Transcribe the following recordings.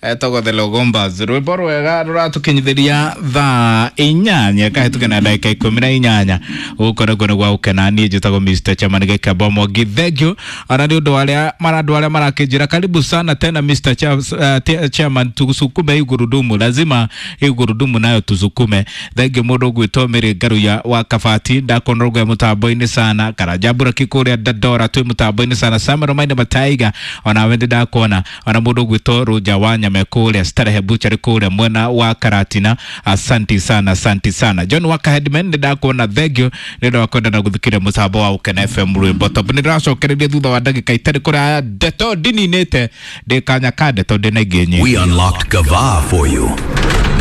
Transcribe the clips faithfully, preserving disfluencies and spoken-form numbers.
Etagwo The Logombas, rwimbo rwega ruratukinyithiria thaa inyanya kahĩtũke na ndagĩka ikũmi na inyanya. Gũkũ nĩkuo nĩ gwa gũkena. Niĩ njĩtagwo Mister Chairman Gĩkamba Mwangi. Thank you ona nĩ ũndũ wa arĩa marandũ arĩa marakĩnjĩra karibu sana tena Mister Cha- uh, Te- Chairman, tusukume hii gurudumu, lazima hii gurudumu nayo tusukume. Thank you mũndũ ũgwĩtwo Mary Ngaruya wa Kabati, ndakuona rũgwe mũtambo-inĩ sana. Karanja Mburaki kũrĩa Dandora twĩ mũtambo-inĩ sana. Samuel Maina Mataiga, onawe ndĩ ndakuona. Ona mũndũ ũgwĩtwo Rũnja wa Nyame kũrĩa Starehe Butchery kũrĩa mwena wa Karatina, asanti sana, asanti sana. John Waka Headman, nĩ ndakuona, thank you nĩ ũndũ wa kwenda na gũthikĩrĩria mũtambo wa Ũkena F M rwĩmbo top. Nĩ ndĩracokereria thutha wa ndagĩka itarĩ kũraya ndeto ndininĩte ndĩ kanya ka ndeto ndĩ na ingĩ nyingĩ. We unlocked Gava for you.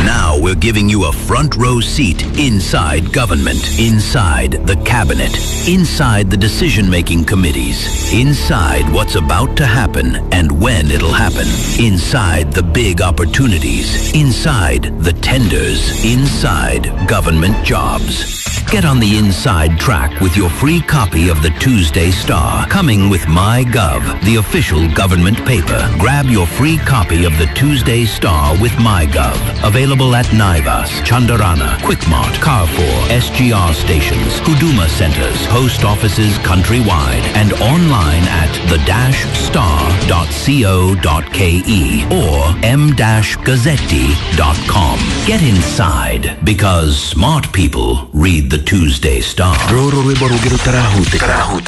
Now we're giving you a front row seat inside government, inside the cabinet, inside the decision making committees, inside what's about to happen and when it'll happen, inside the big opportunities, inside the tenders, inside government jobs. Get on the inside track with your free copy of the Tuesday Star, coming with MyGov, the official government paper. Grab your free copy of the Tuesday Star with MyGov. Available at Naivas, Chandarana, Quickmart, Carrefour, S G R stations, Huduma centers, post offices countrywide, and online at the dash star dot co dot k e or m dash gazzetti dot com. Get inside, because smart people read the Tuesday Star. Rũrũ rwĩmbo rũngĩ rũtarahutĩka.